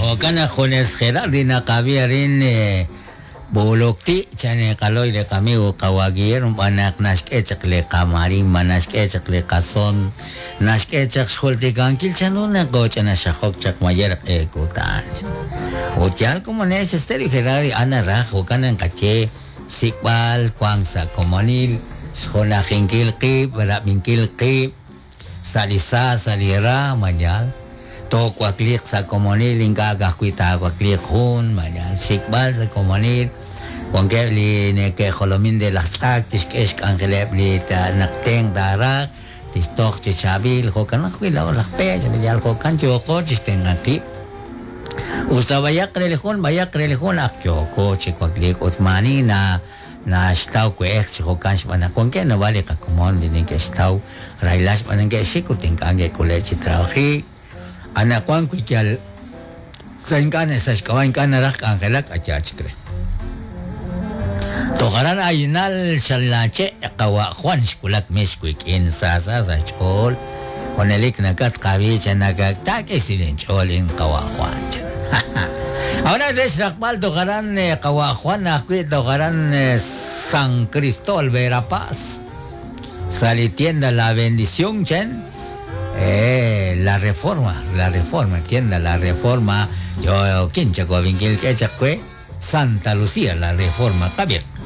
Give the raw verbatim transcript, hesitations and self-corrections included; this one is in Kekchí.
Jo'kan naq junes Gerardi naqab'i arin b'oolokti' chan qaloy li qamigo qawa' Guillermo b'an naq naxk'e chaq li qamarimba naxk'e chaq li qason naxk'e chaq xjultikankil chanru naq ch'ina xajok chaq mayer q'e kutan. Ut yal komonex Estéreo Gerardi ana raj jo'kan naqaye xsik'b'al wank sa' komonil xjunajinkil qib' rab'inkil qib' sa' li sa sa' li ra mañal toowakliq sa' komonil ink'a' ka'ajwi' taawakliq jun mañal xsik'b'al sa' komonil wankeb' li neke'jolomin de laj tz'ak tixk'e xk'anjeleb' li naq tenq taaraj tixtoj chi chaab'il jo'kan ajwi' laa'o laj peech yal jo'kan yooko chixtenq'an qib' usta b'ayaq re li jun b'ayaq re li jun ak yooko chi wakliik ut maani na naxtaw we'ej chi jo'kan xb'aan naq wankeb' naab'al li qakomon li neke'xtaw rahilal xb'aan naq neke'xik ut ink'a' neke'k'ule' chi trabajik anaqwan wi yal sa' ink'a' sa' xk'ab'a' ink'a' naraj k'anjelak ayaa chik re. Toj aran aynal xalache' qawa' Juan xwulak mix wik'in sa sa sa xch'ool junelik nakatqab'i chan nakaktak'e silinch'ool in qawa' Juan chan. Ahora re xraqb'al toj aran qawa' Juan ajwi' toj aran San Cristóbal Verapaz sa' li tienda La Bendición chan eh, la Reforma, la Reforma, tienda La Reforma, yo kincha ko binkil k'e chaq we Santa Lucía, la Reforma, qab'iq.